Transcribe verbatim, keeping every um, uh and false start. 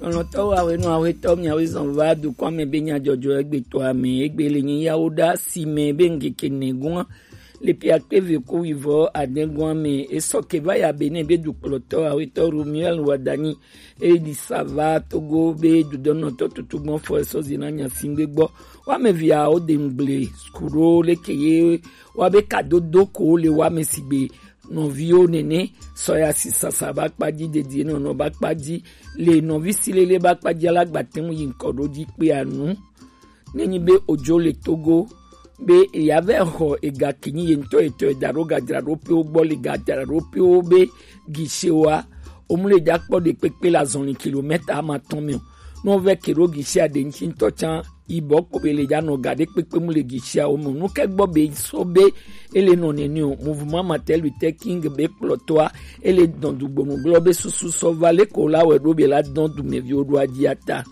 Lɔtɔ wa wenu awetɔ mi awe zɔn va dukɔ me be nya jɔjɔ egbe to ame egbe le nyi yawo da si me be ngeke ne gua le pia kpe ve ko wi vɔ aden gua me esɔ ke va ya be ne be dukplɔtɔ awetɔ Romuel Wadani e di sava Togo be dudɔnɔtɔ tutu gbɔn fɔ esɔ zina nya singbe gbɔ. Wa me via o de ngble skuro le ke ye wa be kadodo ko le wa me sigbe nɔviwo nene sɔya si sasa ba kpadzi dedie nɔnɔ ba kpadzi le nɔvi si lele ba kpadzi alagba te ŋu yi ŋkɔ ɖo dzi kpe anu. Nenyi be odzo le Togo be eya vɛ xɔ ega kinyi ye ŋutɔ etɔ eda ɖo gadzra ɖo pe wo gbɔ le gadzra ɖo pe wo be gise wa omu le dza kpɔ ɖe kpekpe le azɔli kilomɛta ama tɔn me o. Ne wo vɛ ke ɖo gise aɖe ŋuti ŋutɔ tsan yibɔ kpo be le dza nɔ ga ɖe kpekpe mu le gise awo me o. Nu ke gbɔ be so be ele nɔ nene o. Mouvement Martin Luther King be kplɔtɔa ele dɔn du gbonu glɔ be susu sɔ va le ko la wɛ ɖo be la dɔn dumeviwo ɖo adzi ata.